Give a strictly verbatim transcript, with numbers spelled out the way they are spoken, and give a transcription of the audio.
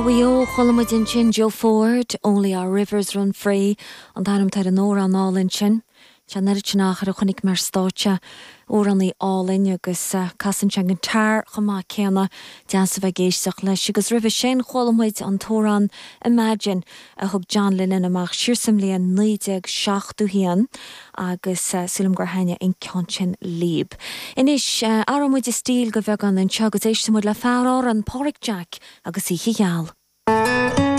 Mhaigh Eo, chuala muid ansin Joe Ford, Only Our Rivers Run Free, an t-ainm atá ar an amhrán álainn sin. Tá an oiread sin achar a chonaic mé ar stáitse, amhránaí álainn agus casann sé an guitar chomh maith céanna, deas a bheith ag éisteacht leis. Agus roimhe sin chuala muid an t-amhrán Imagine a thug John Lennon amach siar sa mbliain naoi déag seachtó haon agus sílim gur thaitnigh an ceann sin libh. Anois, athróidh muid an stíl de bheagán anseo agus éistfidh muid le fear Árann, Páraic Jack agus Oíche Gheal.